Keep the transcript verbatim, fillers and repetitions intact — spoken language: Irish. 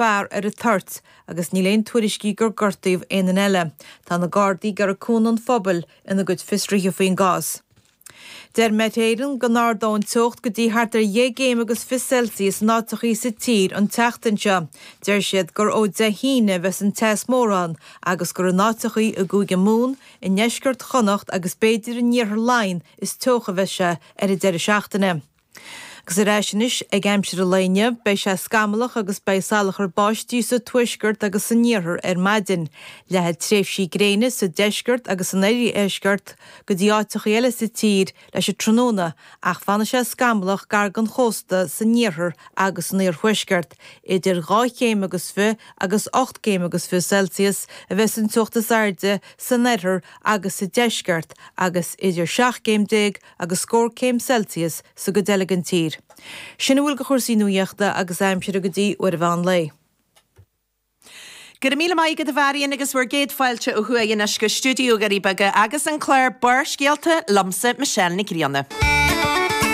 fear ar an toirt agus níl aon tuairiscí gur gortaíodh aon duine eile. Tá na Gardaí ag iarraidh cúnamh an phobail ina gcuid fiosruithe faoin gcás. Deir Met Éireann go n-ardóidh an teocht go dtí thart ar dheich gcéim agus fiche Celsius in áiteachaí sa tír an tseachtain seo. Deir siad gur ó Dé hAoine a bheas an teas mór ann agus gur in áiteachaí i gCúige Mumhan, i ndeisceart Chonnacht agus b'fhéidir in iarthar Laighean is teocha a bheas sé ar an deireadh seachtaine. Agus ar ais anois ag aimsir an lae inniu, beidh sé scamallach agus beidh salachar báistí sa tuaisceart agus san iarthar ar maidin. Leathfaidh tréimhsí gréine sa deisceart agus san oirdheisceart go dtí áiteachaí eile sa tír leis an tráthnóna ach fanfaidh sé scamallach gar don chósta san iarthar agus san iarthuaisceart. Idir dhá chéim agus fiche agus ocht gcéim agus fiche Celsius a bheas an teocht is airde san oirthear agus sa deisceart agus idir seacht gcéim déag agus scór céim Celsius sa gcuid eile den tír. Sin a bhfuil de chúrsaí nuachta agus aimsire go dtí uair an mheán lae. Go raibh míle maith agat a Mharion agus bhur gcéad fáilte ó thuaidh anois go stiúideo Dhoirí Beaga agus an clár Barrscéalta liomsa Michelle Nic Grianna.